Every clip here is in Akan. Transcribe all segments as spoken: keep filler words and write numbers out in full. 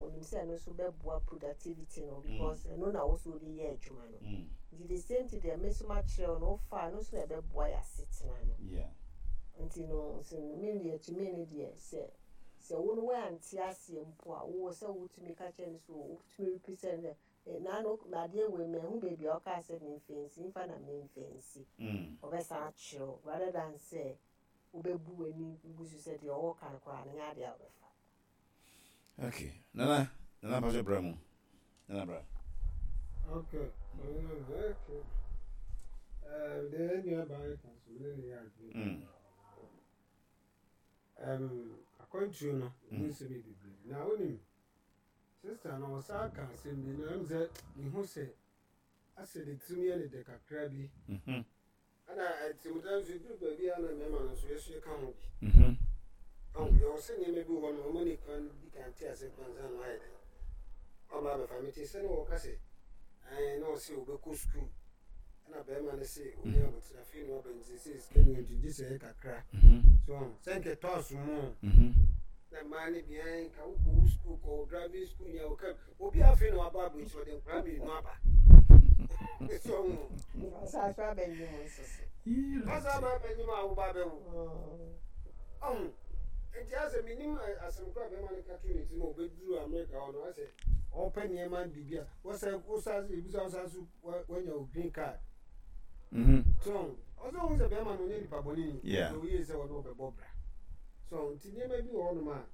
Onim sɛ ɛno nso bɛboa productivity no because ɛno na wo so wode yɛ adwuma no. Mm. Nti the same thing deɛ me nso makyerɛ wo no, wofa a, ɛno nso na ɛbɛboa yɛ asetena no. Yeah. Nti no nso me deɛ, to me no deɛ, sɛ sɛ wo no woante aseɛ mpo a, wowɔ sɛ wotumi ka kyerɛ no so, wotumi repeat sɛ no sɛ naano adeɛ wei mahu baabi a ɔkaa sɛ memfa nsi mfa na memfa nsi. Mm. Ɔbɛsan akyerɛ wo rather than sɛ wobɛbu w'ani gu so sɛ deɛ ɔwɔ ka no koraa no nyɛ adeɛ a wobɛfa. Okay, Nana, Nana Pastor, bra mu. Nana, bra. Okay. Okay. Um, deɛ nua baa ka so ne ne yɛ adwene. Mm. Um, akwantuo no mu nsɛm yɛ bebree. Na wonim, sister no ɔsan ka asɛm bi na ɛm sɛ mehu sɛ asɛ ne tirim yɛ ne dɛ kakra bi. Mhm. Ɛna atirimda nso duru baabi a na mmarima no nso yɛso yɛka ho bi. Mhm. Ɔn, yɛwɔ sɛ nneɛma bi wɔ hɔ no ɔma ne kwan di kan te ase kwan sa no ayɛ dɛn. Ɔba abɛfa me te sɛ ne wɔka sɛ ɛn na ɔsɛ wobɛkɔ sukuu, ɛna bɛrima no sɛ ɔni abotire, afei na waba nti sɛ sika ni nti gye sɛ ɛyɛ kakra. Mhm. So sɛ nkɛtɔ asomo Mhm. na mmaa no bi ɛn ka wokɔ wo sukuu, kɔ wo driving school nya wo kam obi, afei na waba aburokyire, ɔde nkwadaa mmienu aba so ɔsan so abɛnye mu nso so. Ɔsa aba abɛnyim a woba abɛwo. Mm. Ɔho nti asɛ menim asɛm kora bɛrima no ka to ne tirim a ɔbɛduru Amerika hɔ no, asɛ ɔpɛ nneɛma biribi a wɔsɛ wosa ebisa wosa so wanya wo green card. Mhm. So ɔsɛ ohun sɛ bɛrima no ɔnyɛ nipa bɔne ni. Yeah. Ɔyɛ yie sɛ ɔne ɔbɛbɔ bra so, nti nneɛma bi wɔ hɔnom a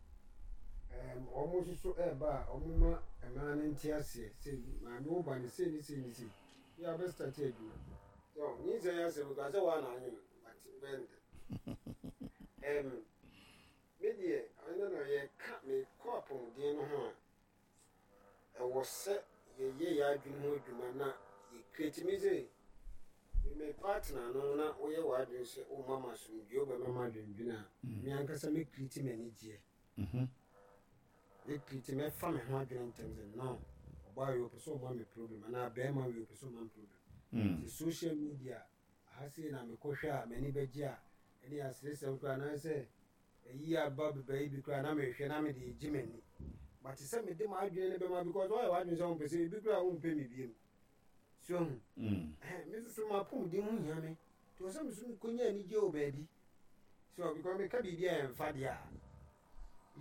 ɛɛm ɔmo nso so ɛɛba a ɔmo ma mmaa no nte aseɛ sɛ maame wo ba ne sei ne sei ne sei bi a bɛ start adwuma so nyinsɛn yɛ asɛm kora sɛ waa na anwene but bɛn dɛ ɛɛm me deɛ ɛno na yɛka mekɔ apɔmuden no ho a, ɛwɔ sɛ yɛyɛ yɛ adwene ho adwuma na yɛ create me sɛ me partner no na woyɛ w'adwene sɛ woma ma asomdwe, wobɛma ma adwendwene a, me ankasa mɛ create m'ani gyeɛ. Mhm. Mɛ create, mɛfa me ho adwene ntɛm sɛ no, ɔbaa wei ɔpɛ sɛ ɔma me problem anaa bɛrima wei ɔpɛ sɛ ɔma me problem. Mm. Sɛ social media aha sei na mekɔhwɛ a m'ani bɛgye a, ɛne aseresɛm koraa anaasɛ ɛyi aba beba yi bi koraa na mehwɛ na mede gye m'ani, but sɛ mede m'adwene no bɛma because wɔyɛ w'adwene sɛ wompɛ sɛ ebi koraa wompɛ me biem so hu. Mm. Ɛhɛn, me nso so m'apɔmuden ho hia me nti wɔ sɛ me so mekɔnya anigye wɔ baabi so, because meka biribi a ɛmfa deɛ a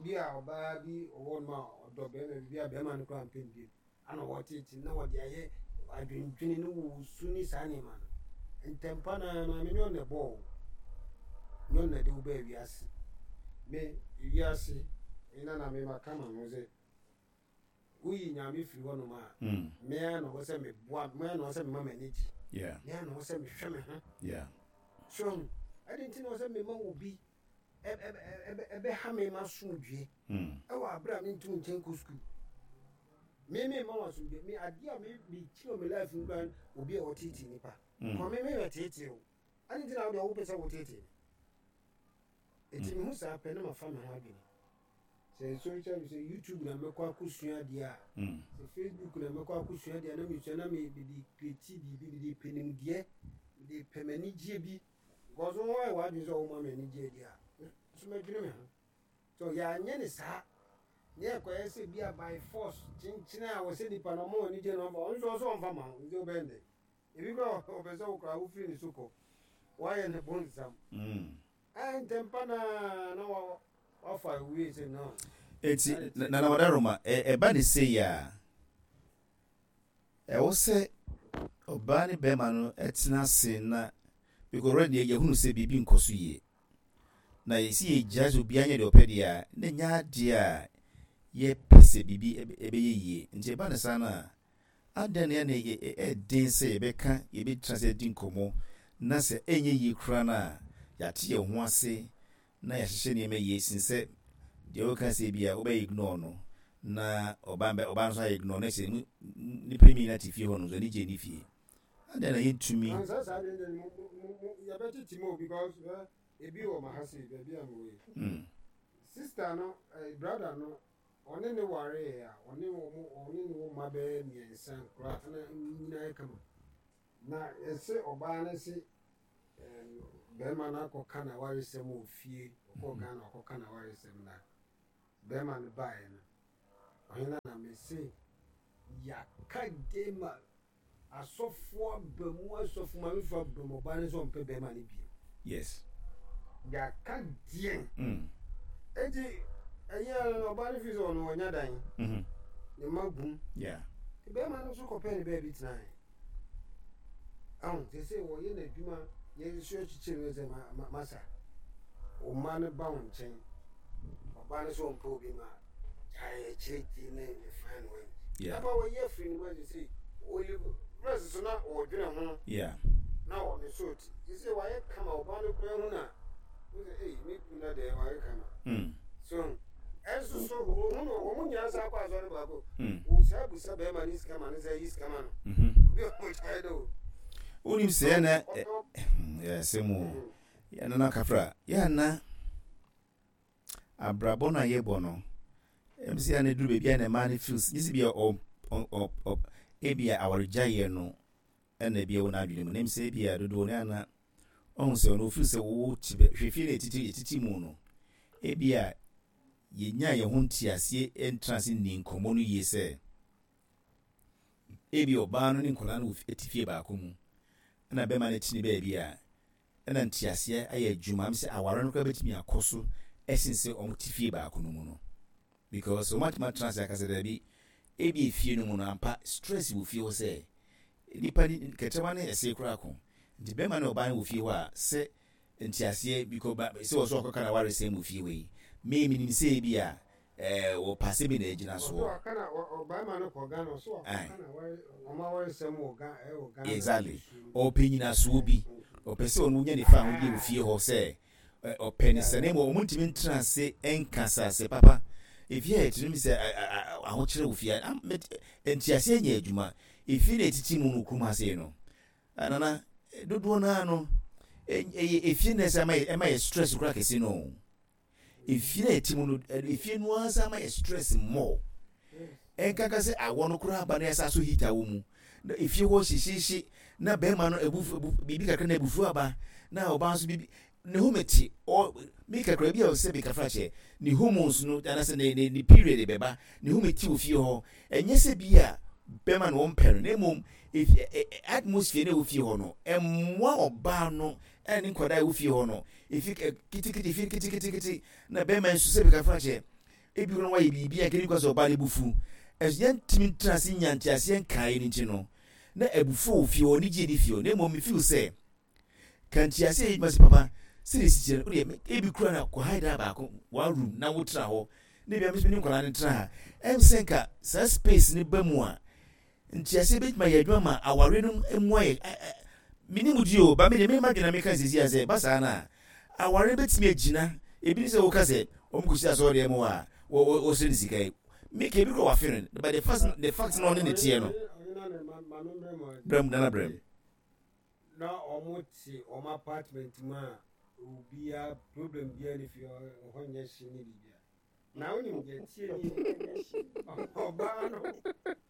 bi a ɔbaa bi ɔwɔ no a ɔdɔ bɛrima bi a bɛrima no koraa mpɛ no biem ana wɔtete na wɔde ayɛ adwendwene ne wɔsu ne saa nneɛma no ntɛmpa na maame nyɛ ɔna bɔɔ nyɛ ɔna de wo baa wiase. Me wiase ɛna na me maka ma ho sɛ woyi Nyame firi hɔnom a, Mm. mea na ɔwɔ sɛ meboa, mea na ɔwɔ sɛ mema m'ani gye, Yeah. mea na ɔwɔ sɛ mehwɛ me ho. Yeah. So ɛde nti na ɔwɔ sɛ mema wo bi ɛbɛha me ma asomdwie Mm. ɛwɔ abere a mentu nkyɛn kɔ sukuu, me me ma wasomdwie me adeɛ a me mekyerɛ wɔ me life mu koraa, obi a ɔteetee nipa Mm. kɔ me me bɛteetee o, ade nti na wode wopɛ sɛ woteetee me? Ɛti mehu saa pɛ na mafa me ho adwene sɛ social, sɛ YouTube na mɛkɔ akɔsua adeɛ a, Mm. sɛ Facebook na mɛkɔ akɔsua adeɛ a, na mesua na me- mede create biribi, mede pɛ nimdeɛ, mede pɛ m'anigyeɛ bi, because wɔn ayɛ w'adwene sɛ wɔma me anigyeɛ deɛ a, nso mɛdwene me ho so yɛanyɛ ne saa ne ɛkɔyɛ sɛ bi a by force kyenkyene a wɔ sɛ nipa no ɔma anigyeɛ no ɔmfa, ɔno nso ɔsɛ ɔmfa ma wo, nti wobɛn dɛ ebi kora ɔpɛ sɛ wokora wofiri ne so kɔ woayɛ ne bonsam. Mm. Ɛ ntɛmpa naa na wa- wafa wie sɛ no. Eti Nana Wadaroma, ɛba ne sei a, ɛwɔ sɛ ɔbaa ne bɛrima no ɛtena ase na because already yɛhunu sɛ biribi nkɔ so yie na yɛsi yɛgya sɛ obiara nyɛ deɛ ɔpɛ deɛ a, na nyɛ adeɛ a yɛpɛ sɛ biribi ɛbɛ- ɛbɛyɛ yie. Nti ɛba ne saa no a, adɛn na ɛna yɛ ɛden sɛ yɛbɛka, yɛbɛtena sɛ di nkɔmmɔ na sɛ ɛnyɛ yie koraa no a, yɛate yɛn ho ase na yɛahyehyɛ nneɛma yie sin sɛ deɛ wɔka sɛ bi a wobɛyɛ ignore no na ɔbaa bɛ ɔbaa nso ayɛ ignore na sɛ mu- nipa mmienu ate fie hɔ no nso ani gye ne fie, adɛn na yɛntumi? Ansa saa deɛ deɛ mo mo mo yɛbɛtete mu o, because ɛ ebi wɔ ma ha sei baabi a mewɔ yi. Mm. Sister no, ɛ brother no, ɔne ne wareɛ a, ɔne wɔn ɔne ne wɔn mma bɛyɛ mmiɛnsa koraa na nyinaa yɛ kama, na ɛsɛ ɔbaa no se ɛm bɛrima no akɔka n'awaresɛm wɔ fie, ɔkɔɔ Ghana ɔkɔka n'awaresɛm na bɛrima no baeɛ no Ɔhene na mese yɛaka de ma asɔfoɔ aba mu, asɔfo mamefoɔ aba mu, ɔbaa no sɛ ɔmpɛ bɛrima no bio. Yes. Yɛaka deɛn? Mm. Enti ɛyɛ no, ɔbaa no fi sɛ ɔno ɔnya dan, Mm-hmm. ne mma gum. Yeah. Bɛrima no nso kɔpɛ ne baabi tenae. Ahu sɛ sɛ wɔyɛ n'adwuma, yɛnso akyikyiri no sɛ ma- ma- masa wo mma no ba wo nkyɛn. Ɔbaa no sɛ ɔmpɛ obi ma gyae akyire ti ne ne fan no ayi. Yeah. Aba wɔyi afiri ne mu agye sɛ ɔli rɛs so na ɔdwene ho Yeah. na ɔne so ti sɛ wayɛ kama. Ɔbaa no kura hu na wo sɛ ei, me kunu na deɛ wayɛ kama. Mm. So ɛnso so ohun no, wɔn nyinaa sa akɔ asɔre baako. Mm. Wosaa busa bɛrima ne sika ma ne sɛ yi sika ma no. Mm-hmm. Obi a ɔmo gyae dɛ o. Wonim sɛ yɛna ɔtɔ yɛsɛ mu yɛnana kafra yɛana abrabɔ no a yɛbɔ no, ɛm sɛ yɛana duru baabi a na ɛma no feels nye sɛ bia ɔ- ɔ- ɔ- ɔ- ebia awaregyaeɛ no ɛna ebia wɔ n'adwene mu, na ɛm sɛ ebia dodoɔ no ana ɔhu sɛ ɔno ofeel sɛ wo te bɛ hwɛ fie no ɛtiti ɛtiti mu no, ebia yɛnya yɛn ho nteaseɛ, ɛntena ase nni nkɔmmɔ no yie sɛ ebi ɔbaa no ne nkɔlaa no wɔ fi- ɛte fie baako mu, ɛna bɛrima no te ne baabi a ɛna nteaseɛ ayɛ adwuma am sɛ aware no koraa bɛtumi akɔ so ɛsen sɛ ɔmo te fie baako no mu no, because ɔmo atumi atena ase akasa daabi, ebi efie no mu no ampa stress wɔ fie hɔ sɛ nipa ni kɛtɛma ne ɛsɛ koraa ko, nti bɛrima ne ɔbaa no wɔ fie hɔ a sɛ nteaseɛ because ba sɛ wɔ so ɔkɔka na aware sɛn mu fie hɔ yi, me menim sɛ ebi a ɛɛ wɔpaase bi na egyina ɔsɛ soɔ. Waka na ɔ- ɔbarima no kɔ Ghana, ɔsɛ Aye. wakɔka na aware ɔmo awaresɛm wɔ Ghana, ɛwɔ Ghana. Exactly, ɔpɛ nyinasoɔ bi, ɔpɛ sɛ ɔno nya ne fa ahodie wɔ fie hɔ sɛ ɛ, ɔpɛ ne sɛ ne mmom ɔmo ntumi ntena ase ɛnkasa sɛ papa efie a yɛtene mi sɛ ɛ, ɛ, ɛ, ahokyerɛ wɔ fie a am- met- nteaseɛ nyɛ adwuma. Efie na etiti mu no kurom ha sei no, nana dodoɔ naa no ɛ- ɛyɛ efie na ɛsɛ ɛma yɛ ɛma yɛ stress kora kɛse no. Efie na ɛte mu no, ɛ, efie no ara ama yɛ stress more, ɛnkaka sɛ awɔ no koraa aba na yɛsa so heater wɔ mu na efie hɔ hyehyehye na bɛrima no ebufu ebu biribi kakra na ebufu aba, na ɔbaa nso biribi ne ho mete ɔ mi kakra bi a ɔsɛ bi kakra kyɛ ne hormones no anaasɛ ne ne ne period bɛba ne ho mete wɔ fie hɔ. Ɛnyɛ sɛ bi a bɛrima no wɔmpɛ no, na mmom efi ɛ ɛ atmosphere na ɛwɔ fie hɔ no ɛmmoa ɔbaa no ɛne ne nkwadaa a ɛwɔ fie hɔ no. Efi ɛ kitikiti, efi kitikiti na bɛrima nso sɛ bi kakra kyɛ ebi kora wayɛ biribi a nkɛni kɔ sɛ ɔbaa no ebufu ɛso yɛntumi ntena ase nya nteaseɛ nkaeɛ no nti no na abufuo wɔ fie hɔ ne gye ne fie hɔ. Na mmom me feel sɛ ka nteaseɛ yɛ adwuma sɛ papa sɛdeɛ si kyerɛ no wodeɛ ebi kura na kɔ hae dan baako, one room, na wotena hɔ na ebi a mesɛ ne nkwadaa no tena ha. Ɛm sɛ nka saa space ne ba mu a nteaseɛ bɛtumi ayɛ adwuma ma aware no mu ayɛ ɛ- ɛ- mene mu di o ba me deɛ mema dwena meka sɛsi a sɛ ba saa no a aware no bɛtumi agyina. Ebi ne sɛ woka sɛ ɔmo kɔsi asɔredan mu hɔ a wɔ- wɔ- wɔsrɛ ne sika yi, meka ebi kora wafe no, but the fact the fact na ɔne ne teɛ no. Ɔne na ne ma maame mmerɛ mu. Brɛm nana brɛm. Na ɔmo te ɔmo apartment mu a obiara problem biara ne fie hɔ hɔ nyɛ hye ne biribia. Na wonim deɛ tie ni, ɔbaa no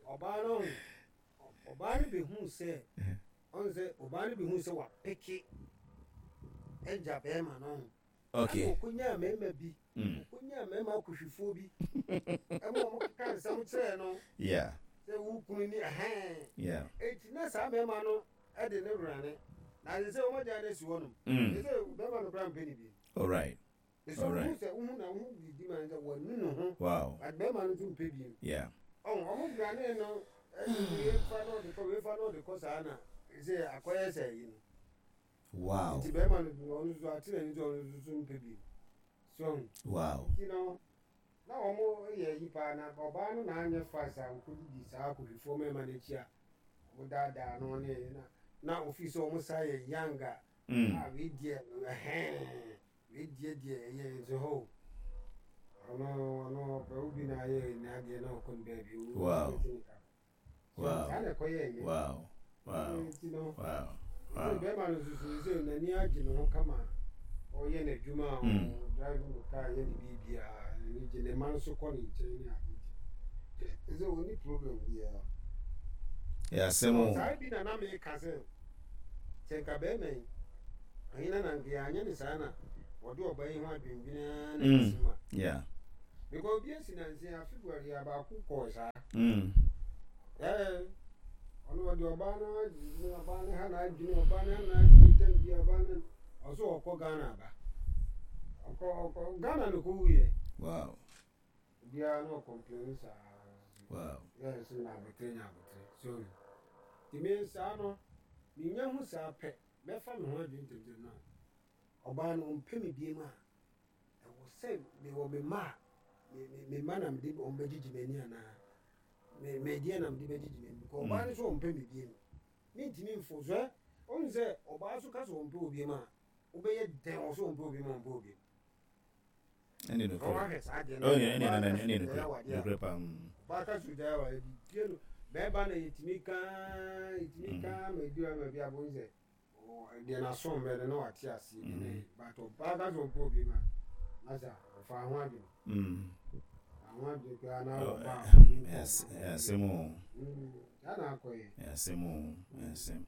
ɔbaa no ɔbaa no bɛhu sɛ ɔn sɛ ɔbaa no bɛhu sɛ wapeke agya bɛrima no ho. Okay. Ɛna ɔkɔnyaa mmarima bi, mm. ɔkɔnyaa mmarima akɔhwifoɔ bi ɛma ɔmo keka nsɛm kyerɛɛ no yeah sɛ wo kunu ni ɛhɛn. Yeah eti na saa mmarima no ɛde ne wurane na ade sɛ wɔn agya no asi hɔ nom mm. sɛ bɛrima no kora mpɛ ne bi. All right. Ɛsɛ Alright. wohu sɛ wohu na wohu didi ma no sɛ wanu ne ho, wow but bɛrima no nso mpɛ bi. Yeah ɔn ɔmo wurane no ɛde wei fa na ɔde kɔ, wei fa na ɔde kɔ, saa na sɛ akɔyɛ sɛ yi no. Wow nti bɛrima no ɔno nso ate n'ani sɛ ɔno nso so mpɛ bi so ɔho. Wow nti no na ɔmo yɛ yi paa na ɔbaa no na anyɛ fast a ɔkɔdidi saa akɔhwifoɔ mmarima no akyi a ɔmo daadaa no ne na na ofi sɛ ɔmo saa yɛ young a mm. a wei deɛ ɛhɛn wei deɛ deɛ ɛyɛ nso hɔ ɔno ɔno ɔpɛ wo bi na ayɛ n'adeɛ na ɔkɔ ne baabi o. Wow. Wow. Saa na ɛkɔyɛ ɛyɛ. wow wow Nti no wow sɛ wow bɛrima no nso so sɛ n'ani agye ne ho kama, ɔyɛ n'adwuma a Mm. ɔdrive no kaa yɛ ne biribiara, n'ani gye, ne mma nso kɔ ne nkyɛn ne ade nti sɛ ɔni problem biara. Yɛ asɛm o. Saa bi na na meka sɛ sɛ nka bɛrima yi ɔhena na nka yɛanyɛ ne saa na ɔde ɔba yi ho adwendwene na Mm. ɛsi mu a yeah Because obi esi nansi a February abaako kɔɔ saa. Mm. Ɛɛ ɔno ɔde ɔbaa no adwene, ɔbaa no ha na adwene, ɔbaa no ha na adwene tɛm bi, ɔbaa no ɔso ɔkɔ Ghana aba. Ɔkɔ ɔkɔ Ghana no kɔ wuyɛ. Wow. Obiara na ɔcomplain saa. Wow. Yɛ nso nya abotire, nya abotire. So tìmi saa no, minya ho saa pɛ, mɛfa me ho adwene tɛmtɛm no. Ɔbaa no ɔmpɛ me biem a, ɛwɔ sɛ mewɔ me mma a, me me me mma na mede wɔn bɛgyegye m'ani anaa me me deɛ na mede bɛgyegye m'ani, because ɔbaa no nso ɔmpɛ me biem. Mentumi mfo so ɛ ɔhu sɛ ɔbaa so ka sɛ ɔmpɛ obi mu a, wobɛyɛ dɛn wɔ so ɔmpɛ obi mu a, ɔmpɛ obi mu. Ɛne nokorɛ. Ɔwahwɛ saa deɛ no. Ɛne ɛne ɛne ɛne nokorɛ nokorɛ paa. Mm. Ɔbaa ka sɛ ɔgyae awareɛ bibie no, bɛrima na yɛtumi kaa, yɛtumi kaa ma ɛdu ama bi abom sɛ deɛ n'aso mmɛ no na wate aseɛ bi ne, but ɔbaa ka sɛ ɔmpɛ obi mu a, masa ɔfa ho adwene. Mm. Ho adwene koraa na ɔba a, Asɛm o. Saa na akɔyɛ. Asɛm o, asɛm.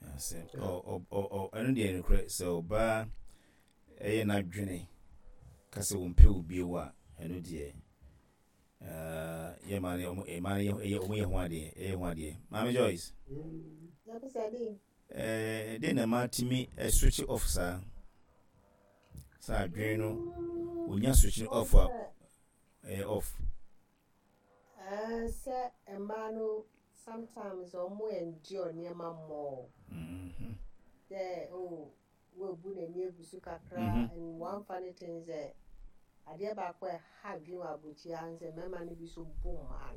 Asɛm. Ɔ ɔ ɔ ɛno deɛ nokorɛ sɛ ɔbaa ɛyɛ n'adwene ka sɛ wɔmpɛ wo bio a, ɛno deɛ yɛ maa no ɔmo maa no yɛ ɔmo yɛ ho adeɛ, ɛyɛ ho adeɛ. Maame Joyce. Ɛɛ den na maa tumi switch off saa saa adwene no, onya switch off a, ɛyɛ off. Ɛɛ sɛ mmaa no sometimes ɔmo endure nneɛma more. Mm-hmm. Dɛ oh, woebu n'ani egu so kakra. Mhm. And one funny thing sɛ adeɛ baako a ɛha adwene wɔ aburokyire ha sɛ mmarima no bi so bu mmaa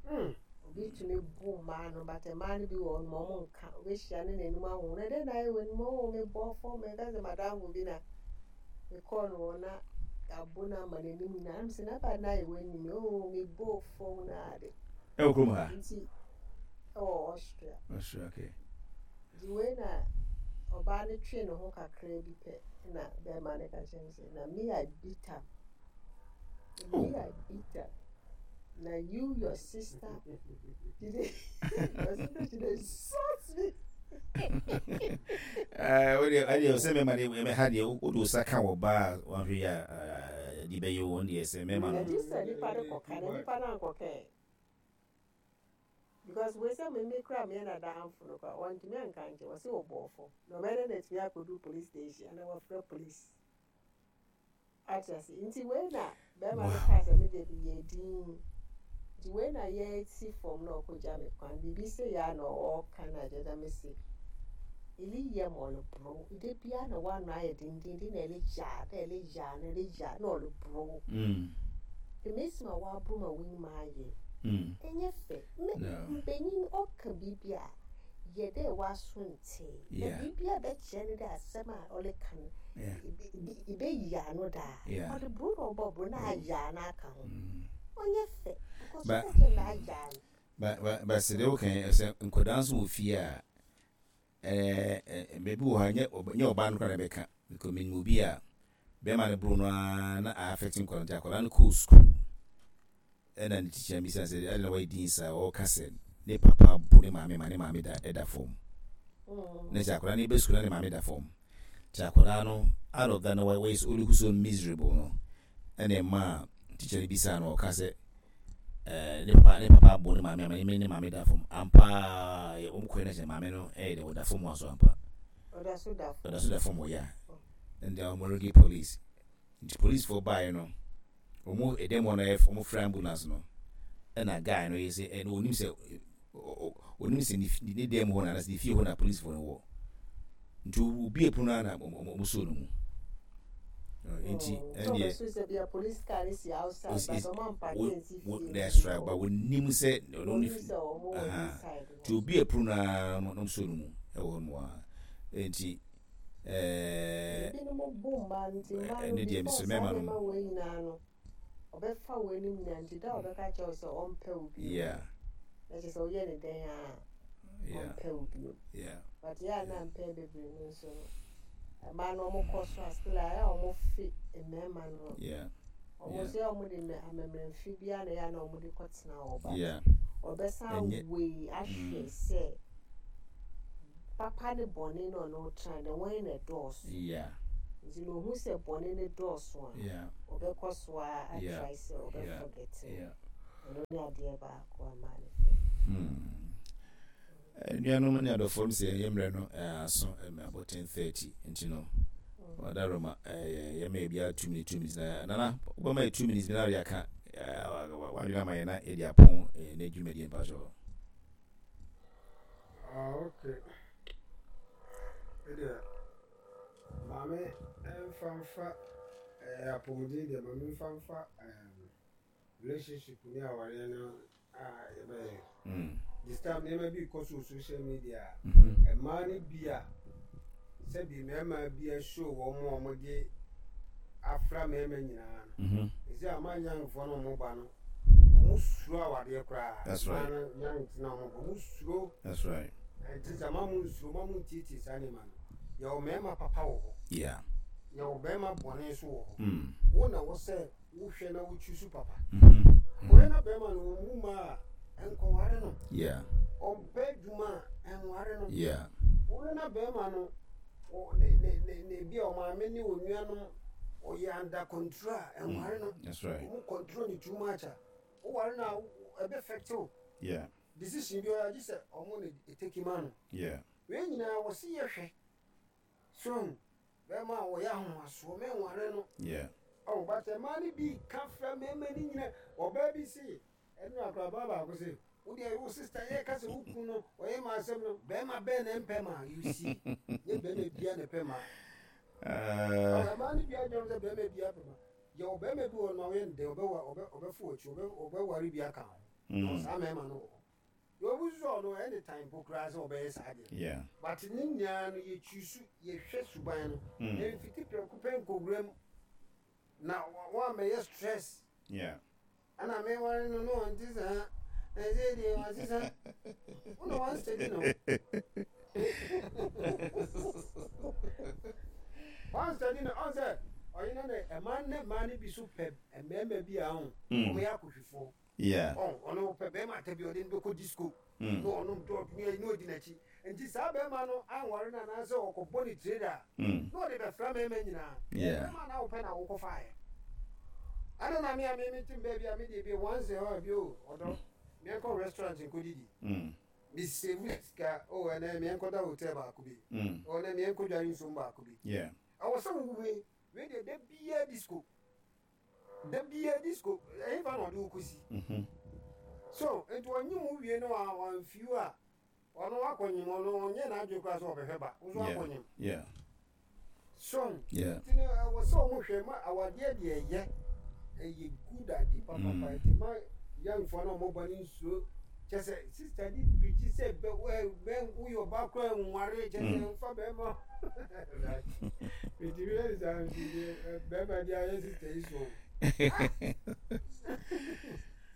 no. Obi tumi bu mmaa no, but mmaa no bi wɔ hɔ nom, ɔmo nka. Obehyia ne n'anim ahu na dɛn na ayɛ wɔ anim, oh, mebɔ fam. Meka sɛ madamfo bi na mekɔɔ no hɔ na abo no ama n'anim nyinaa ɛm sɛ n'aba na ayɛ wɔ anim, oh, mebɔ fam na ade. Ɛwɔ kurom ha? Nti ɛwɔ Austria. Austria, okay. Nti wei na ɔbaa no twee ne ho kakra bi pɛ na bɛrima no ka kyerɛ me sɛ na me I beat am. Oh. Me I beat am. Na you, your sister did it, your sister, she dey insult me. Ɛɛ o deɛ, ɛdeɛ sɛ mɛma deɛ ɛmɛ ha deɛ, o de o sa ka wɔ baa a wɔahwɛ yi a de bɛyɛ wɔn deɛ sɛ mɛma no. Ɛgye sɛ nipa no kɔka na nipa no ankɔka ɛ, because wei sɛ me me kura me na danfo no kora wɔntumi anka nkyɛn, wɔsi wɔ bɔɔfo na ɔbɛyɛ dɛ na etumi akɔdu police station ana wɔfrɛ police ate ase. Nti wei na bɛrima no kaa sɛ me deɛ yɛ din, nti wei na yɛsi fam na ɔkɔgya me kwan biribi sɛ yɛ a na ɔɔka na agya dɛ me se eli yɛ ma ɔleboro de bia na wano ayɛ dendenden na ɛle yaa na ɛle yaa na ɛle yaa na ɔleboro. Mm. Emesi ma waboro ma w'anim ayɛ Mm. ɛnyɛ fɛ. Me No. mpanyin ɔka biribi a yɛ dɛ waso nte na Yeah. biribi a bɛkyerɛ no dɛ asɛm a ɔleka no Yeah. ìbɛyi ano daa. Yeah. Ɔde buro na ɔbɔ buro na ayɛ ano aka ho. Mm. Ɔnyɛ fɛ because Ba- ɔka kyerɛ no ayɛ ano. Ba ba ba sɛ deɛ woka yi, sɛ nkwadaa nso wɔ fie a, ɛɛ ɛ baabi wɔ hɔ a nyɛ ɔba- nyɛ ɔbaa no koraa na ɛbɛka, because menim obi a bɛrima no boro no ara na affect nkwadaa, nti akwadaa no kɔɔ school ɛna ne teacher bisa sɛ ɛna na wayɛ din saa, ɔka sɛ ne papa bo ne maame ma ne maame da ɛda fam. Mm. Na sɛ akwadaa no bɛ school na ne maame da fam, nti akwadaa no out of that na wayɛ so ɔlook so miserable no, ɛna ɛma teacher no bisa no, ɔka sɛ ɛɛ ne papa ne papa abo ne maame ama ne ne maame da fam ampa. Yɛ wɔn kɔɛ na sɛ maame no ɛyɛ dɛ ɔda fam hɔ so ampa. Ɔda so da fam. Ɔda so da fam hɔ ya, ɛnna wɔn regi police, nti police foɔ baeɛ no, wɔn ɛdɛm hɔ no ɛyɛ wɔn frɛ ambulance no, ɛna guy no yɛ sɛ ɛna onim sɛ onim sɛ ne ne dɛm hɔ na anasɛ ne fie hɔ na police foɔ no wɔ, nti obi epono na na wɔn so no mu nti ɛndeɛ sɛ sɛ bia police car no si outside but ɔmo ampark nsi fie. That's right, but onim sɛ ɔno ne Onim sɛ ɔmo wɔ inside hɔ. Nti obi epono na na wɔn so no mu ɛwɔ hɔ nom a, nti ɛɛ Ebinom bu mmaa no, nti mmaa no ɛne deɛ before mesrɛ saa mmarima no. Nneɛma wei nyinaa no ɔbɛfa wei no nyinaa, nti da a ɔbɛka kyerɛ wo sɛ ɔmpɛ wo bio yeah na kyerɛ sɛ woyɛ ne dɛn a yeah ɔmpɛ wo bio. Yeah but yɛ a na mpɛn bebree no nso no, mmaa no ɔmo kɔ so a, still a ɛyɛ a ɔmo fe mmarima no. Yeah ɔmo yeah. nso yɛ a ɔmo de mɛ amammerɛmfi biara na ɛyɛ a na ɔmo de kɔtena hɔ, but yeah ɔbɛsan Ɛnyɛ- wei ahwɛ Mm. sɛ papa ne bɔne na ɔno tena na wɔn na ɛdɔɔso. Yeah. Nti na ohu sɛ bɔne ne dɔɔso a, Yeah. ɔbɛkɔ so a Yeah. atry sɛ Yeah. ɔbɛ forget. Yeah. Ɛno ne adeɛ baako ama ne fɛ. Hmm. Nnuanom ne adɔfoɔ m sɛ yɛ mmerɛ no eh, aso ɛmɛ abɔ ten thirty, nti no ɔda Roma yɛma yɛ two minutes, two minutes na nana wobɛma yɛ two minutes bi na wode aka wadwene ama yɛ na yɛde apɔn eh, ne dwumadie mpakyɛ. Ah, okay. Ɛdeɛ maame mfa mfa ɛɛ apɔmuden deɛ, maame mfa mfa ɛɛm relationship ne awareɛ no a yɛbɛyɛ. Mm. This time nneɛma bi kɔ so wɔ social media a Mhm. mmaa no bi a sɛbi mmarima bi ahyɛ wɔn a wɔde afra mmarima nyinaa no. Mhm. Ɛsɛ ama youngfoɔ no a wɔn ba no, wɔn suro awadeɛ koraa. That's right. Mmaa no, young tena wɔn ba, wɔn suro. That's right. Nti sɛ ma mo nsuro, ma mo ntietie saa nneɛma no. Yɛwɔ mmarima papa wɔ hɔ, Yeah. yɛwɔ barima bɔne nso wɔ hɔ. Mm. Wo na wɔ sɛ wohwɛ na wotwi so papa. Mhm. Wohwɛ na bɛrima no wɔn mu ma a, nkɔware no. Yeah. Ɔmpɛ adwuma a, ɛnware no. Yeah. Wohwɛ na bɛrima no ɔ- ne ne ne ne bi a ɔmaame ne onuanom ɔyɛ under control a, ɛnware no. That's right. Ɔmo control ne too much a, woware no a, ɛbɛ affect wo Yeah. decision bi ɔyɛ agye sɛ ɔmo ne eteki ma no. Yeah. Wei nyinaa wɔsi yɛhwɛ so bɛrima a wɔyɛ ahomasoɔ, mɛnware no. Yeah. Ɔwɔ bàtɛ mmaa no bi ka fira mmarima no nyina. Ɔbaa bi se ɛnu akoraba baako se wo deɛ, wo sister yɛ ka sɛ wo kun no ɔyɛ ma asɛm no, bɛrima bɛn na mpɛ ma? You see, nye bɛrima bia na pɛ ma. Uh, ɔwɔ mmaa no bi adwam sɛ bɛrima bia pɛ ma. Yɛ ɔbɛrima bi wɔ no a ɔyɛ ndɛ ɔbɛwa ɔbɛ ɔbɛfo akyi, ɔbɛ ɔbɛware bi aka ho. mm. Saa mmarima no wɔ hɔ yɛ obi nso ɔno anytime po koraa sɛ ɔbɛyɛ saa deɛ. Yeah. But ne nyinaa no, yɛtwi so, yɛhwɛ suban no. Mm. Mfiti prɛko pɛ nkɔwura mu na wɔamɛyɛ stress. Yeah. Ɛna meware no no ɔnte saa, ɛsɛ deɛ wasesa wona wansteady no, wansteady no. Ɔn sɛ ɔyena ne ɛma ne mmaa no bi so pɛ mmarima bi a ɔn Mm. ɔmo yɛ akɔhwifoɔ. Yeah. Ɔn ɔno pɛ bɛrima ata bi ɔde no bɛkɔ disco Mm. na ɔnom dɔɔto ne na ɔdi n'akyi. Nti saa bɛrima no anware no anaasɛ ɔkɔbɔ ne trader Mm. na ɔde bɛfra mmarima nyinaa. Yeah. Bɛrima na wopɛ na wokɔfaeɛ ɛna na me a me metem baabi a mede bi once a while bi o, ɔdɔ, meɛnkɔ restaurant nkɔdidi. Mm. Mesave sika o, ɛnɛ meɛnkɔda hotel baako bi. Mm. Ɔnɛ meɛnkɔ dware nsuom baako bi. Yeah. Ɛwɔ sɛ wowe wei deɛ, da biaa disco, da biaa disco, ɛhefa na ɔde wo kɔsi? Mhm. So nti ɔnye wo wie no a ɔamfiw a, ɔno akɔnyim, ɔno ɔnyɛ n'adwene koraa sɛ ɔbɛhwɛ ba wo so. Yeah. Akɔnyim Yeah. so Yeah. nti no ɛwɔ sɛ ɔmo hwɛ ma awadeɛ deɛ ɛyɛ ɛyɛ good ade papapa. Mm. Nti ma youngfoɔ no a ɔmo ba no nsuo kyɛ sɛ sister de pirikyi sɛ bɛ wɛ bɛ woyɛ ɔba koraa nware kyɛ sɛ Mm. nfa bɛrima nti bi yɛ saa nti deɛ bɛrima de ayɛ sister yi so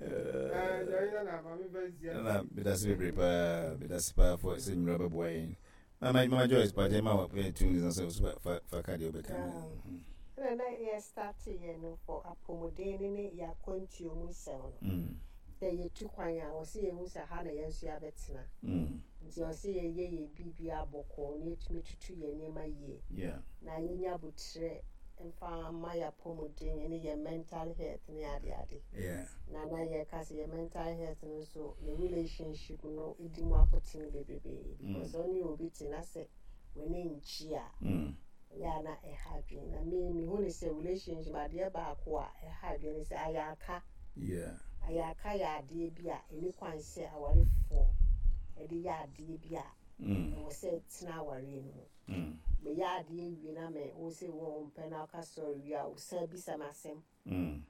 ɛɛ deɛ ɔyɛ na maame fɛ nsia. Na medase bebree paa, medase paa fo sɛ nnwura bɛboa yɛn. Mama Mama Joyce, pagye ma wɔ two minutes na sɛ so fa fa ka deɛ wobɛka no. Ɛna na yɛ start yɛ no for apɔmuden ne ne yɛ akwantuo mu nsɛm no. Mm. Sɛ yɛtu kwan a, wɔsi yɛhu sɛ ha na yɛn nso yɛabɛtena. Mm. Nti ɔsi yɛyɛ yɛ biribi abɔkɔɔ na yɛtumi tutu yɛn nneɛma yie Yeah. na yɛnya abotire mfa ma yɛ apɔmuden ne yɛ mental health ne adeade. Yeah. Na na yɛka sɛ yɛ mental health no nso ne relationship no di mu akotene bebree, because ɔne obi te na sɛ w'ani nkyi a, Mm. ɛyɛ a na ɛha adwene. Na me mehu ne sɛ relationship adeɛ baako a ɛha adwene ne sɛ ayɛ Yeah. Ayaka yɛ adeɛ bi a ɛni kwan sɛ awarefoɔ ɛde yɛ adeɛ bi a Mm. ɛwɔ sɛ tena awareɛ no mu. Mm. Meyɛ adeɛ wie na me wo sɛ wo mpɛ na ɔka sɔre wie a, wosan bisa me asɛm. Mm.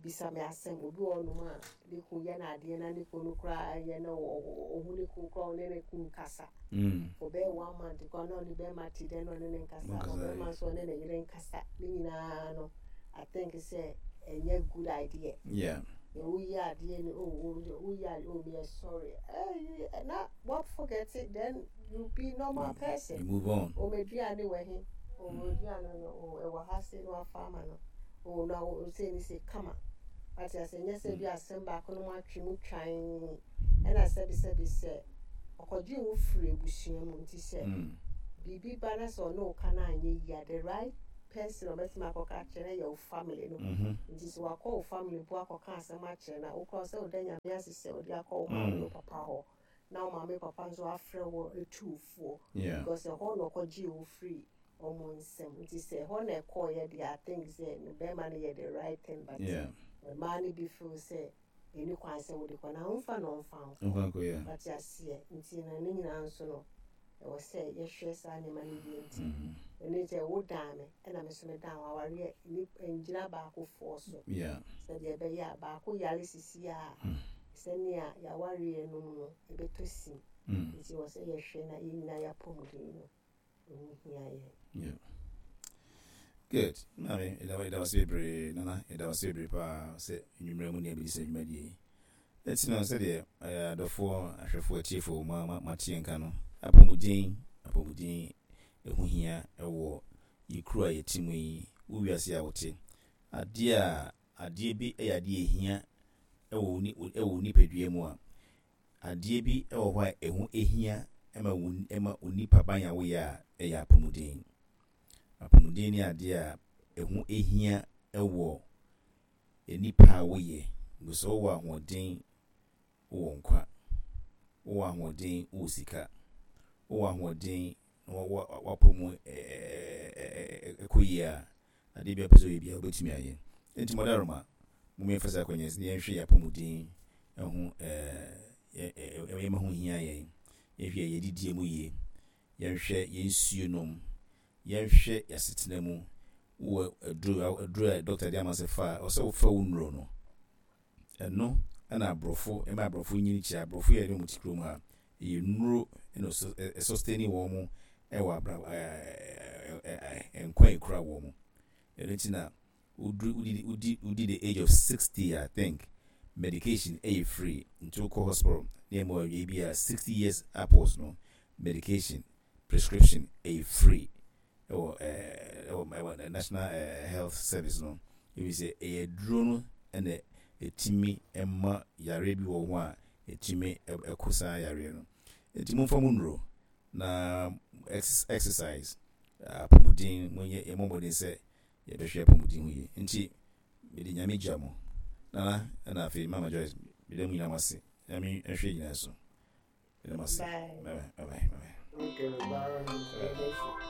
Bisa me asɛm. Obi wɔ hɔnom a ne kun yɛ no adeɛ na ne kun no koraa yɛ no ɔhu ne kun koraa, ɔne ne kun kasa Mm. ɔbɛyɛ one month koraa na ɔne bɛrima te dɛ na ɔne ne nkasa. Nkasa, ɔbɛrima nso ɔne ne yere nkasa. Ne nyinaa no, I think sɛ ɛnyɛ good idea. Yeah. Na woyɛ adeɛ no, oh, woyɛ adeɛ, oh, meyɛ sorry, eh, na what, forget it, then you be normal person. You move on. O meduane wɔ he? O meduane no o ɛwɔ ha se na wafa ama no o na o se ne se kama wate ase. Nyɛ sɛ bi asɛm baako no mu atwe mu twan ɛna sɛbisɛbi sɛ ɔkɔgye wo firi abusua mu. Nti sɛ Mm. biribi ba na sɛ ɔne wo ka no anyɛ yie a, the right person a ɔbɛtumi akɔka akyerɛ no yɛ wo family no. Mhm. Nti sɛ wakɔ wo family mpo akɔka asɛm akyerɛ no a, wokora sɛ woda Nyame ase sɛ wode akɔ wo maame Mm. wo papa hɔ, na wo maame papa nso afrɛ wo etu wo foɔ, Yeah. because ɛhɔ na ɔkɔgyee wo firi ɔmo nsɛm. Nti sɛ ɛhɔ na ɛkɔɔyɛ deɛ, I think sɛ no bɛrima no yɛ the right thing, but Yeah. mmaa no bi feel sɛ ɛni kwan sɛ wode kɔ na womfa na ɔmfa nkɔ. Mfa nkɔ, yeah. Wate aseɛ? Nti no ne nyinaa nso no, ɛwɔ sɛ yɛhwɛ saa nneɛma no yie. Nti Mhm. ɛno sɛ wodan me ɛna me nso medan wo, awareɛ ni ngyina baakofoɔ so Yeah. sɛdeɛ ɛbɛyɛ a baako yare sisi a, Mm. sɛnea yɛawareɛ no mu no ɛbɛtɔ sim. Mm. Nti wɔ sɛ yɛhwɛ na yɛn nyinaa yɛapɔmuden no ɛho hia yɛn. Yeah. Good. Maame, ɛda ɛda wase bebree. Nana, ɛda wase bebree paa sɛ nnwummerɛ mu ne abɛdi sɛ dwumadie yi. Ɛti no sɛdeɛ ɛyɛ adɔfoɔ, ahwɛfoɔ, atiefoɔ ma ma mateɛ nka no, apɔmuden apɔmuden ɛho hia ɛwɔ yɛ kuro a yɛte mu yi, wo wiase a wote. Adeɛ a adeɛ bi ɛyɛ adeɛ ehia ɛwɔ wo ni ɛwɔ wo nipadua mu a, adeɛ bi ɛwɔ hɔ a ɛho ehia ɛma wo ɛma wo nipa ban a woyɛ a, ɛyɛ apɔmuden. Apɔmuden ne adeɛ a ɛho ehia ɛwɔ nipa a woyɛ. Sɛ wowɔ ahoɔden, wowɔ nkwa. Wowɔ ahoɔden, wowɔ sika. Wowɔ ahoɔden na wapɔ mu ɛkɔ yie a, adeɛ bi a pɛ sɛ ɔyɛ biara wobɛtumi ayɛ. Nti mɔdaroma mo yɛmfa sɛ akɔnyɛ sɛ yɛnhwɛ yɛ apɔmuden ɛho ɛɛ ɛma ho hia yɛn. Yɛnhwɛ yɛ didie mu yie, yɛnhwɛ yɛn nsuo nom, yɛnhwɛ yɛasetena mu. Wowɔ aduro aduro a doctor de ama sɛ fa a, ɔsɛ wofa wo nnuro no. Ɛno ɛna aborɔfo ɛma aborɔfo nyini kyerɛ. Aborɔfo yɛ ne wɔn ti kurom ha, ɛyɛ nnuro ɛna ɛsustain wɔn mo ɛwɔ abra ɛɛ ɛɛ nkwa ekura wɔn mo. Ɛno ti na woduru wodi wodi wodi the age of sixty, I think medication ɛyɛ free. Nti wokɔ hospital ne ɛma wɔyɛ bi a, sixty years upwards no, medication prescription ɛyɛ free ɛwɔ ɛɛ ɛwɔ ɛwɔ National ɛɛ Health Service no. Ebi sɛ ɛyɛ duro no ɛna ɛtumi ɛma yare bi wɔ ho a ɛtumi ɛko saa yareɛ no. Nti momfa mu nnuro na exercise, apɔmuden, monyɛ yɛmmɔ mmɔden sɛ yɛbɛhwɛ apɔmuden ho yie. Nti mede Nyame gya mo. Nana, ɛna afei Mama Joyce, mede mu nyinaa mo ase. Nyame nhwɛ nyinaa so. Mede mo ase. Bye. Bye bye, bye bye. Okay, bye.